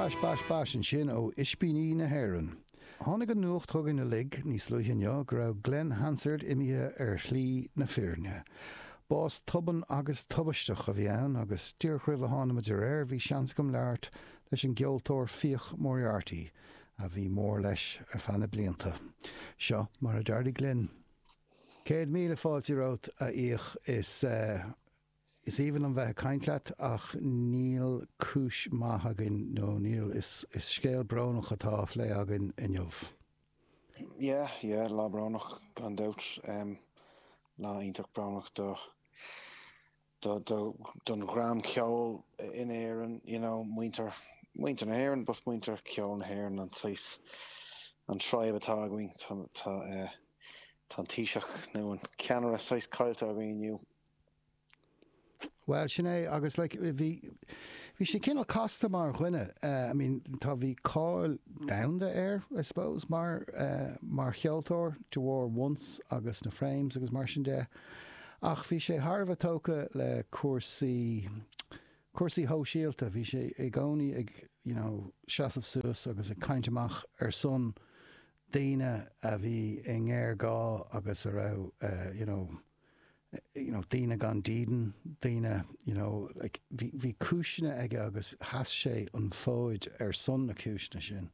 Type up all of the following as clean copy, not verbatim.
Bash Bash Bash ansin ó Ispíní na hÉireann. Tháinig an nuacht chugainn uilig níos luaithe inniu go raibh Glen Hansard imithe ar shlí na fírinne. Bás tobann agus tubaisteach a bhí ann agus díreach roimh a tháinig muid ar aer bhí seans agam labhairt leis an gceoltóir Fiach Moriarty a bhí mór leis ar feadh na blianta. Seo mar a d'éirigh linn. 100,000 fáilte romhat a Fhiach is Is aoibhinn liom bheith ag caint leat ach níl cúis maith againn nó níl, is scéal brónach atá á phlé againn inniu. Yeah, yeah, lá brónach gan dabht. Lá iontach brónach do, do, do, don dhream ceoil in Éirinn, you know, muintir, muintir na hÉireann but muintir ceoil na hÉireann, an saghas, an tribe atá againn, tá, tá, eh, tá an Taoiseach nó an ceannaire saghas caillte againn inniu. Bhuel, sin é, agus like, bhí, bhí sé cineál casta mar dhuine. I mean, tá, bhí cáil domhanda air, I suppose, mar, mar cheoltóir, de bharr Once agus na Frames agus mar sin de. Ach bhí sé thar a bheith tógtha le cúrsaí, cúrsaí shóisialta. Bhí sé i gcónaí ag, you know, seasamh suas agus ag caint amach ar son daoine a bhí i ngéarghá agus a raibh, you know, you know, daoine gan dídean, daoine, you know, like, bhí, bhí cúiseanna aige agus sheas sé an fód ar son na cúiseanna sin.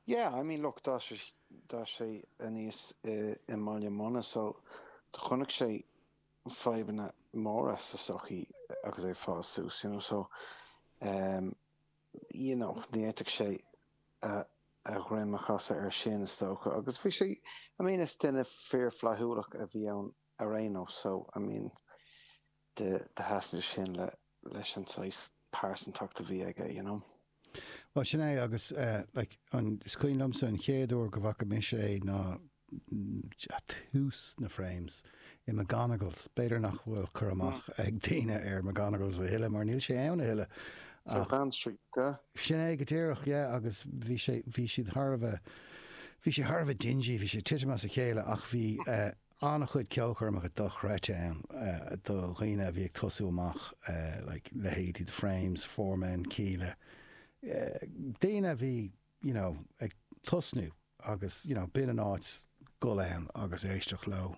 Yeah, I mean, look, d'fhás sé, d'fhás sé aníos i, i mBaile Munna so do chonaic sé fadhbanna móra sa sochaí agus é ag fás suas, you know, so, um, you know, ní fhéadfadh sé a a dhroim a chasadh air sin, is dócha. Agus bhí sé, I mean, is duine fíorfhlaithiúlach a bhí ann ar aon nós, so, I mean, do thaitnigh sin le, leis an saghas pearsantacht a bhí aige, you know. Bhuel, sin é, agus, like, an, is cuimhin liomsa an chéad uair go bhfaca mise é ná tús na Frames i McGonagall's. B'fhéidir nach bhfuil cur amach ag daoine ar McGonagall's a thuilleadh mar níl sé ann a thuilleadh. Ach Grand Street, yeah. Sin é go díreach, yeah, agus bhí sé, bhí siad thar a bheith, bhí sé thar a bheith dingy, bhí sé ag titim as a chéile ach bhí an-chuid ceolchoirmeacha dochreidte ann do dhaoine a bhí ag tosú amach, like leithéidí The Frames, Four Men, Kíla, daoine a bhí, you know, ag tosnú agus, you know, b'in an áit dul ann agus éisteacht leo.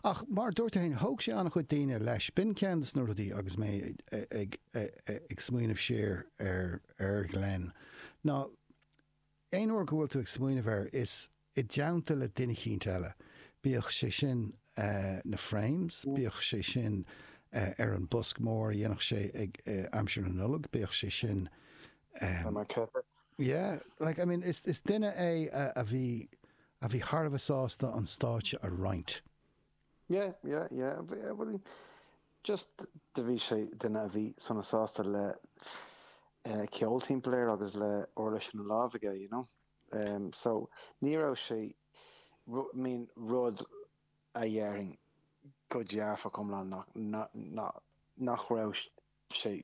Ach mar a dúirt tú féin, thóg sé an-chuid daoine leis. B'in ceann de na rudaí agus mé ag, ag smaoineamh siar ar, ar Ghlen, ná aon uair go bhfuil tú ag smaoineamh air, is i dteannta le duine eicínt eile, bíodh sé sin na Frames, bíodh sé sin ar an bosc mór a dhéanfadh sé ag aimsir na Nollag, bíodh sé sin Yeah, like, I mean, is, is duine é a, a bhí, a bhí thar a bheith sásta an stáitse a roinnt. Yeah, yeah, yeah, bhuel, just do bhí sé duine a bhí sona sásta le ceol timpeall air agus le uirlis ina lámh aige, you know. So, ní raibh sé, I mean, rud a dhéarfainn go dearfach iomlán nach, nach raibh sé,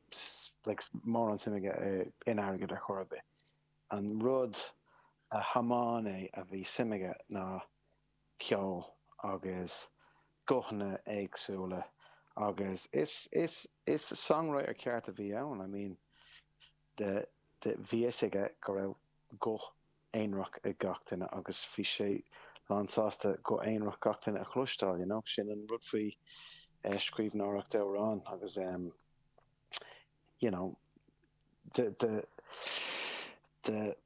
like, mórán suim aige in airgead ar chor ar bith. An rud a thiomáin é a bhí suim aige ná ceol agus guthanna éagsúla agus is, is, is songwriter ceart a bhí ann, I mean, de, de, bhí fhios aige go raibh guth aonarach ag gach duine agus bhí sé lán sásta guth aonarach gach duine a chloisteáil, you know. Sin an rud faoi scríbhneoireacht amhrán agus you know, de, de, de,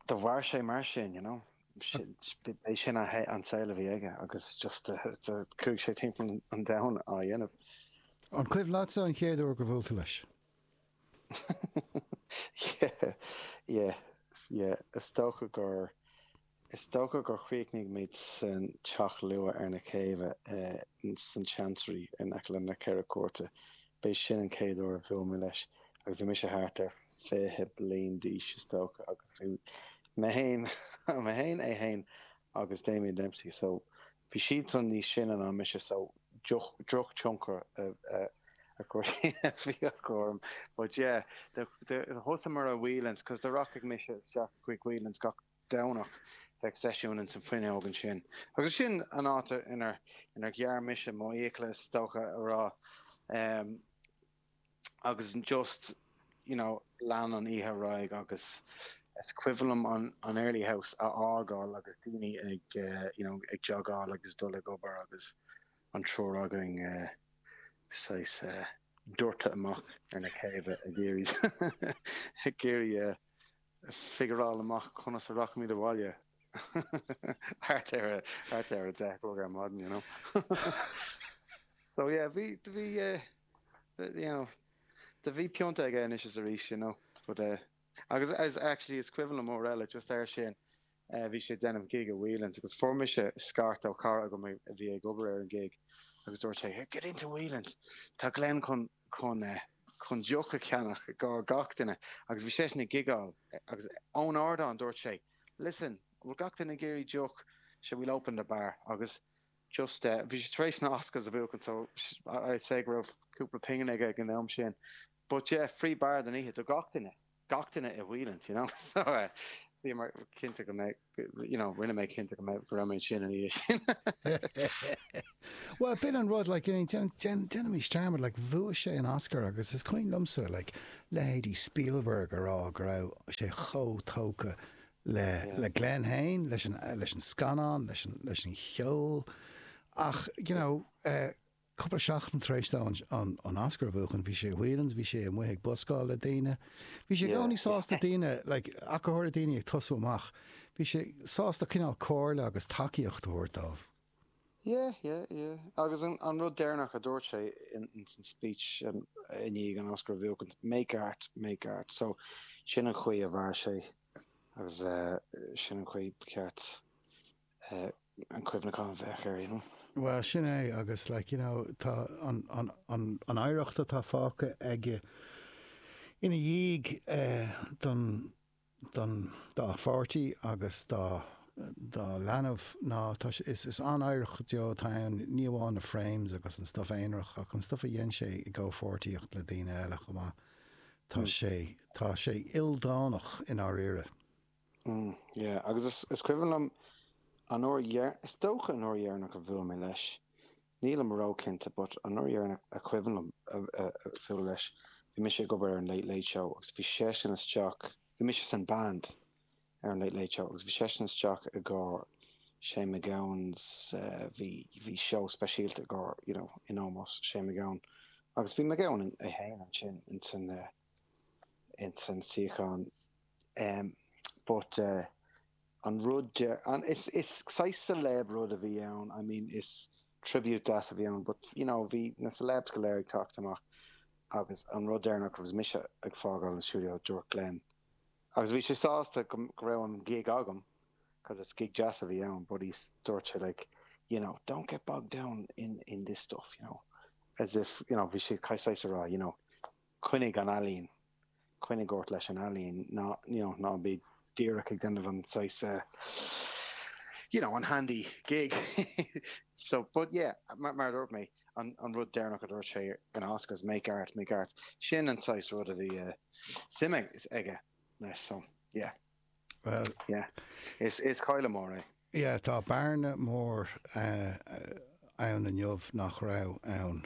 do mhair sé mar sin, you know. B'é sin an saol a bhí aige agus just chuaigh sé timpeall an domhain á dhéanamh. An cuimhin leatsa an chéad uair gur bhuail tú leis? Yeah, yeah, yeah. Is dócha gur, is dócha gur chríochnaigh muid san teach luath ar na céibhe san Chancery in aice le na Ceithre Cúirte. B'é sin an chéad uair a bhuail mé leis agus bhí mise thart ar 20 bliain d'aois is dócha agus bhí mé féin, mé féin, é féin agus Damien Dempsey so bhí siadsan níos sine ná mise so drochthionchar a bhí acu orm. But yeah, thosaíomar i Whelan's cos do rachadh mise isteach chuig Whelan's gach Domhnach, bheadh seisiún ins an fuinneog ansin. Agus sin an áit inar inar ghearr mise mo fhiacla is dócha a rá. Agus just. you know, lean an oíche ar aghaidh agus is cuimhin liom an an Airlie House a fhágáil agus daoine ag you know ag jogáil agus dul ag obair agus an triúr againn saghas doirte amach ar na céibhe ag iarraidh ag iarraidh figureáil amach conas a rachaimid abhaile thart ar a thart ar a 10 a chlog ar maidin you know. So yeah bhí bhí you know do bhí pionta aige anois is arís you know but eh agus as actually is cuimhin liom uair eile just air sin eh bhí sé ag déanamh gig i Whelan's agus fuair mise scairt ó chara agam a bhí ag obair ar an gig agus dúirt sé get into Whelan's tá Glenn chun chun eh chun deoch a cheannach i gcomhair gach duine agus bhí seisean ag gigeáil agus ón ardán dúirt sé listen bhfuil gach duine ag iarraidh deoch so we'll open the bar agus just eh bhí sé tar éis na Oscars a bhuachan so I'd say go raibh cúpla pingin aige ag an am sin but yeah free bar don oíche do gach duine gach duine i Whelan's you know so eh bhíomar cinnte go mbeidh you know rinne mé cinnte go mbeidh go raibh mé ansin an oíche sin. Bhuel b'in an rud like déanaimis dearmad like bhuaigh sé an Oscar agus is cuimhin liomsa like leithéidí Spielberg a rá go raibh sé chomh tógtha le le Glenn féin, leis an leis an scannán, leis an leis an cheol ach you know eh cúpla seachtain tar éis dó an an Oscar a bhuachan bhí sé i Whelan's, bhí sé amuigh ag buscáil le daoine. Bhí sé i gcónaí sásta daoine like ach go háirithe daoine ag tosú amach, bhí sé sásta cineál comhairle agus tacaíocht a thabhairt dóibh. Yeah, yeah, yeah. Agus an an rud deireanach a dúirt sé in in san speech i ndiaidh an Oscar a bhuachan, make art, make art. So sin an chaoi a mhair sé. Agus sin an chaoi ba cheart an cuimhneachán a bheadh air, you know. Bhuel, sin é, agus like, you know, tá an, an, an, an oidhreacht atá fágtha aige ina dhiaidh don, don, dá pháirtí agus dá, dá leanbh ná tá sé, is, is an-oidhreacht go deo atá ann, ní amháin na frames agus an stuff aonarach ach an stuff a dhein sé i gcomhpháirtíocht le daoine eile chomh maith. Tá sé, tá sé ildánach i ndáiríre. Mm, yeah, agus is, is cuimhin liom an uair dheir, is dócha an uair dheireanach a bhuail mé leis, nílim ró-chinnte, but an uair dheireanach a cuimhin liom a, a, a bhualadh leis, bhí mise ag obair ar an Late Late Show agus bhí seisean isteach, bhí mise san band ar an Late Late Show agus bhí seisean isteach i gcomhair Shane MacGowan's bhí bhí seó speisialta i gcomhair you know in ómós Shane MacGowan agus bhí MacGowan é féin ansin insan insan suíochán but an rud de an is is saghas celeb rud a bhí ann I mean is tribute deas a bhí ann but you know bhí na celebs go léir ag teacht amach agus an rud deireanach agus mise ag fágáil an stiúideo dúirt Glenn Agus bhí sé sásta go raibh an gig agam, cos is gig deas a bhí ann, but he, dúirt sé like, you know, don't get bogged down in, in this stuff, you know, as if, you know, bhí sé saghas a rá, you know, coinnigh an ealaín, coinnigh ort leis an ealaín, ná, you know, ná bí díreach ag déanamh an saghas, eh, you know, an handy gig. So, but yeah, mar, mar a dúirt mé, an, an rud deireanach a dúirt sé ag an Oscars, make art, make art, sin an saghas rud a bhí, eh, suim aige leis so yeah. Well yeah is is cailleadh mór é. Yeah tá bearna mór ann inniu nach raibh ann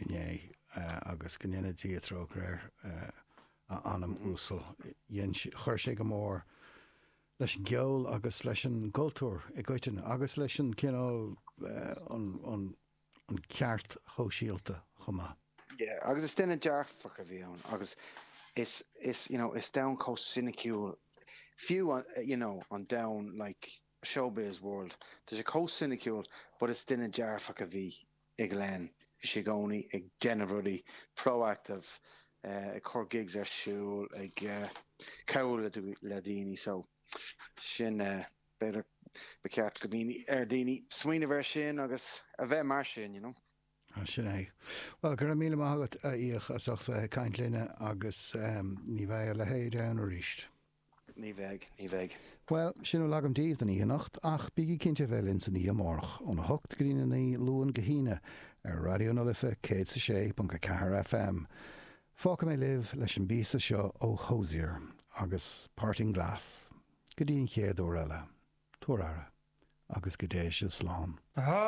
inné agus go ndéana Dia trócaire air a anam uasal. Dhein sé, chuir sé go mór leis an gceol agus leis an gcultúr i gcoitinne agus leis an cineál an an an ceart shóisialta chomh maith. Yeah, agus is duine dearfach a bhí ann agus is, is, you know, is domhan chomh soiniciúil, fiú, you know, an domhan like showbiz world, tá sé chomh soiniciúil but is duine dearfach a bhí i Glenn, bhí sé i gcónaí ag déanamh rudaí, proactive, ag cur gigs ar siúl, ag cabhrú le daoine so sin eh. B'fhéidir ba cheart go daoine, ar daoine smaoineamh air sin agus a bheith mar sin, you know. Sin é. Bhuel, go raibh míle maith agat, a Fhiach, as ucht bheith ag caint linne agus ní bheidh a leithéid ann arís. Ní bheidh, ní bheidh. Bhuel, sin a bhfuil agam daoibh don oíche anocht, ach bígí cinnte a bheith linn san oíche amárach, óna hocht go dtína naoi, Luan go hAoine, ar Raidió na Life 106.4 FM. Fágfaidh mé libh leis an bpíosa seo ó Hozier agus Parting Glass. Go dtí an chéad uair eile, tabhair aire, agus go dté sibh slán.